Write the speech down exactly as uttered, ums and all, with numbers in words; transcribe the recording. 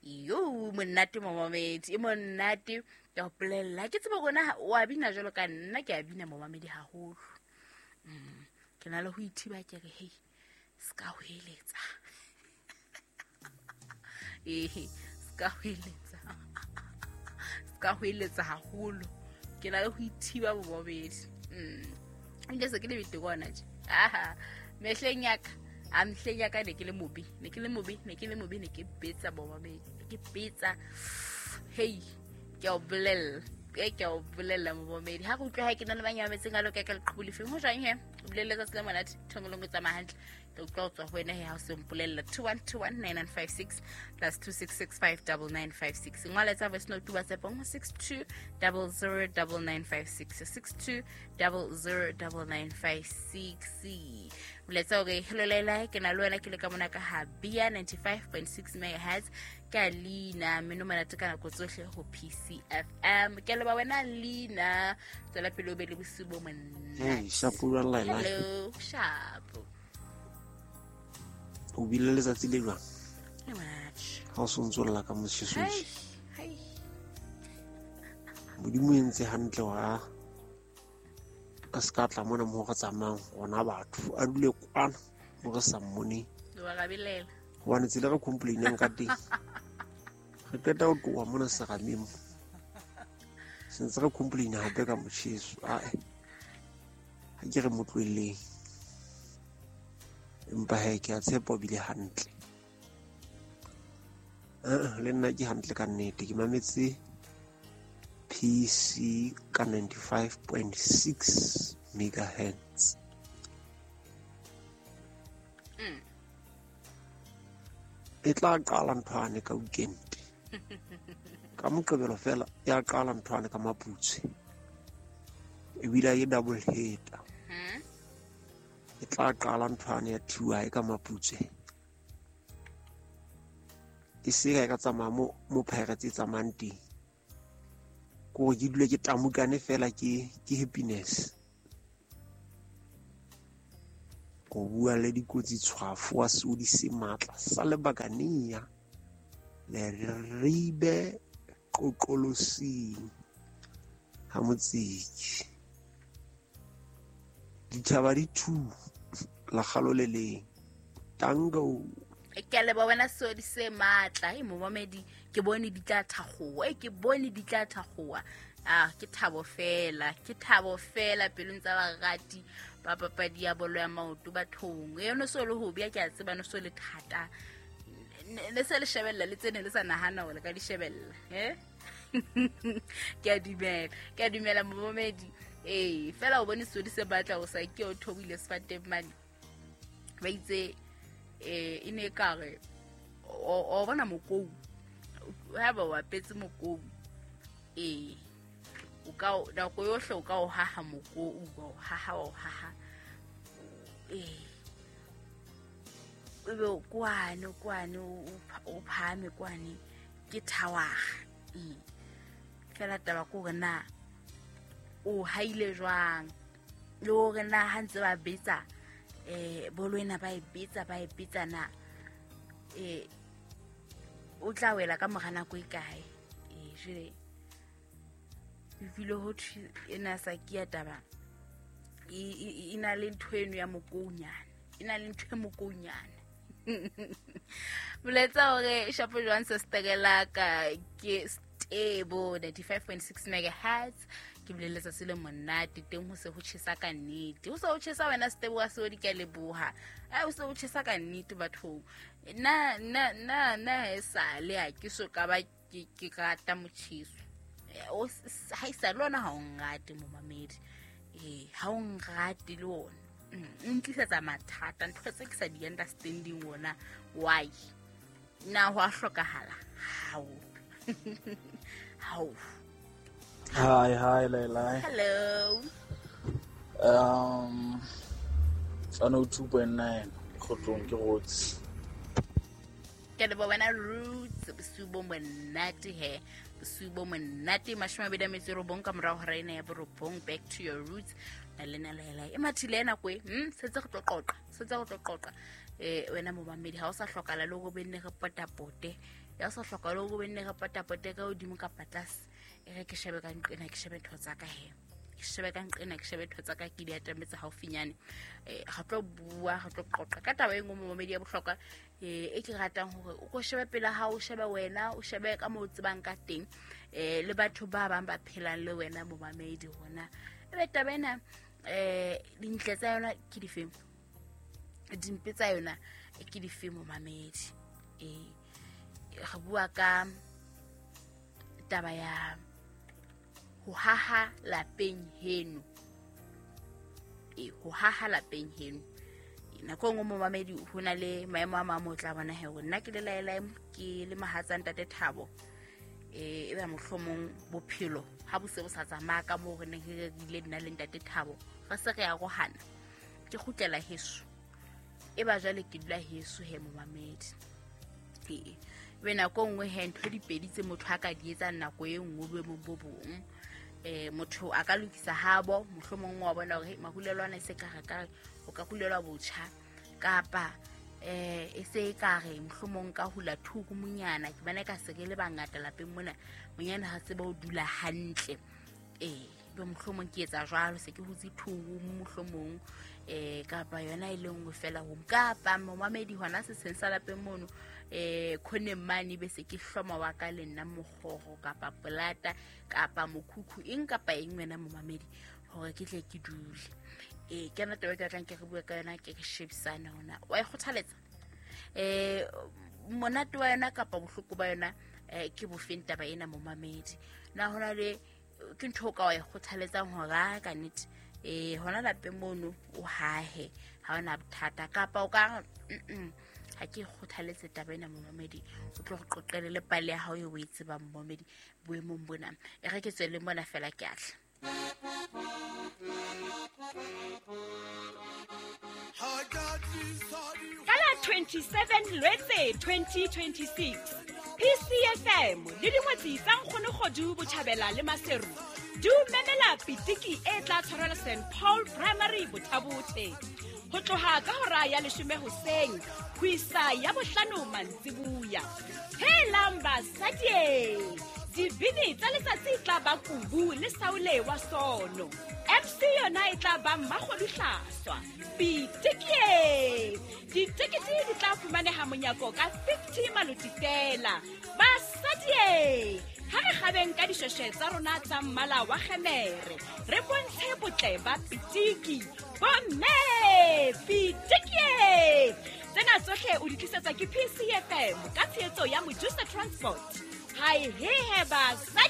Yo monate momamedi, e monate ke a o bolella. Ke tsebe rona o a bina jwalo ka nna, ke a bina momamedi haholo. Mm. Ke na le ho ithiba ke re hei, ska ho eletsa. Eh, ska ho eletsa. Ska ho eletsa haholo. Ke na le ho ithiba momamedi. Mm. Nke se ke le bete kona tje. Aha, mehleng ya ka. A mehleng ya ka ne ke le mobe, ne ke le mobe, ne ke le mobe, ne ke betsa momamedi, ne ke betsa. Hei, ke a o bolella, e ke a o bolella momamedi. Ha re utlwa ha ke na le banyametseng a loka ka leqhubu lefeng, ho jwang he? O bolelle tsatsi le monate, thongolong o tsamaya hantle. Ke utlwa ho tswa ho wena he ha o se mpolella. two one two one nine nine five six plus two six six five double nine five six. Ngola tsa voice note WhatsApp ho six two double zero double nine five six, six two double zero double nine five six. Boletsa hore hello Laila, ke na le wena ke le ka mona ka ha Bia ninety-five point six megahertz ka Lina meno monate ka nako tsohle ho P C F M. Ke leboha wena Lina, tswela pele o be le bosiu bo monate. Hey, shapo jwang Laila? Hello, shapo. O bile letsatsi le jwang? Le monate. Ha o sontso lla ka motjheso. Hai, hai. Modimo o entse hantle wa a ska tla mona mo re tsamayang rona batho, a dule kwana mo re sa mmoneng. Wa rabelela. Hobane tsela re complainang ka teng. Re qeta ho tloha mona serameng mo. Sentse re complaina hape ka motjheso. Ae. Ha ke re mo tlohelleng. Empa he ke a tshepa o bile hantle. Eh, le nna ke hantle ka nnete. Ke mametse P C ka ninety-five point six megahertz. Mm. E tla qala nthwane ka weekend. Ka Moqebelo fela ya qala nthwane ka Maputswe. Ebile e double header. Mm. E tla qala nthwane ya T Y ka Maputswe. E se ka tsamaya mo mo Pirates e tsamayang teng. Ko ke dule ke tamukane fela ke ke happiness. Go bua le dikotsi tshwafo wa seodi se matla sa lebakania le ribe qoqolosing ha motsiki. Ditjhaba di two la kgalo le leng. Tango. Ke a leboha wena seodi se matla. E momamedi, ke bone di tla thakgowa. E ke bone di tla thakgowa. Ah, ke thabo fela, ke thabo fela pelong tsa barati ba papadi ya bolo ya maoto bathong. E no so le hobi ya ke a tseba no so le thata. Ne se le shebella le tsene le sa nahana hore ka di shebella, eh? Ke a dumela, ke a dumela momamedi. Eh, fela o bone seodi se batla o sa ke o thobile sefateng mane. Ba itse eh e ne ka re o bona mokou. Ha ba wa petse mokou. Eh o ka nako yohle o ka o haha mokou, o haha o haha. Eh o be kwane kwane o phahame kwane ke thawaga. Eh fela taba ke hore na o haile jwang le hore na ha ntse ba betsa eh bolo ena ba e betsa ba e betsa na eh o tla wela ka mora nako e kae. Eh jwale e file ho thwe ena sa ke ya taba e na le ntho eno ya mokounyana, e na le ntho e mokounyana. Boletsa hore shapo jwang se sterela ka ke Stebo ninety-five point six megahertz. Ke boleletse se le monate teng ho se ho tjhesa ka nnete. Ho se ho tjhesa wena Stebo wa Seodi, ke a leboha. Eh o se ho tjhesa ka nnete bathong. Na na na na e sale ha ke so ka ba ke ke rata motjheso. O ha e sa le ona ha o nrate momamedi. Eh ha o nrate le ona. O ntlisetsa mathata, ntho tse ke sa di understanding ona why. Na ho a hlokahala? Hao. Hao. Hi, hi, Laila. Hello. Um, one oh two point nine, Kgotlong ke Roots. Ke leboha wena Roots, bosiu bo monate he. Bosiu bo monate, mashome a mabedi a metso e robong ka morao hora ena ya borobong. Back to your roots. Na le na Laila. E mathile ena kwe, hm, setse re tlo qoqa, setse re tlo qoqa. eh wena momamedi ha o sa hlokala le go benne re potapote ya sa hlokala le go benne re potapote ka hodimo kapa tlase e re ke shebe ka nqena ke shebe ntho tsa ka he ke shebe ka nqena ke shebe ntho tsa ka ke di atametse haufinyane eh ga tlo bua ga tlo qoqa ka taba e nngwe momamedi ya bohlokwa eh e ke ratang hore o ko shebe pela ha o shebe wena o shebe ka mo tsebang ka teng eh le batho ba bang ba phelang le wena momamedi hona ebe taba ena eh dintle tsa yona ke difeng dimpe tsa yona ke difeng momamedi eh re bua ka taba ya ho haha lapeng heno e ho haha lapeng heno nako nngwe momamedi ho na le maemo a mang o tla bona hore nna ke le laela ke le mahatsa ntate Thabo eh e ba mohlomong bophelo ha bo se bo sa tsamaya ka moo re neng re ile nna le ntate Thabo re se re arohana ke kgutlela heso e ba jwale ke dula heso he momamedi e be nako nngwe he ntho di pedi tse motho a ka di etsang nako e nngwe boemong bo bong eh motho a ka lokisa habo mohlomong wa bona hore mahulelwana e se ka re ka o ka hulelwa botjha kapa eh e se ka re mohlomong ka hula thuku monyana ke bana ka se ke le bangata lapeng mona monyana ha se ba o dula hantle eh be mohlomong ke etsa jwalo se ke hutse thuku mohlomong eh kapa yona e lengwe fela ho kapa momamedi hona se seng sa lapeng mono eh khoneng mane be se ke hloma wa ka le nna mokgoro kapa polata kapa mokhukhu eng kapa eng wena momamedi hore ke tle ke dule eh ke yona taba e ke batlang ke re bue ka yona ke re shebisane hona wa e kgothaletsa eh monate wa yona kapa bohloko ba yona eh ke bofeng taba ena momamedi na hona le ke ntho ka wa e kgothaletsang hore ka nnete eh hona lapeng mono o hahe ha ona bothata kapa o ka ha ke kgothaletse taba ena momamedi o tlo re qoqele le pale ya hao e o e tsebang momamedi boemong bona e re ke tswele mona fela ke atla Ka la twenty-seven Lwetse twenty twenty-six P C F M le dingwetsi tsa Nkgono Kgodu Botjhabela le Maseru di o memela pitiki e tla tshwarelwa Saint Paul Primary Bothabothe ho tloha ka hora ya leshome hoseng ho isa ya bohlano mantsibuya. Helang basadi, dibini tsa letsatsi tla ba kubu le saule wa sono. M C yona e tla ba Mmakgodu Hlaswa. Pitiki! Ditekete di tla fumaneha monyako ka fifty maloti fela. Basadi, ha re kgabeng ka dishweshwe tsa rona tsa mmala wa kgemere, re bontshe botle ba pitiki. Bomme, pitiki! Tsena tsohle o di tlisetsa ke P C F M ka tshehetso ya Mojusa Transport. Hai he he basadi!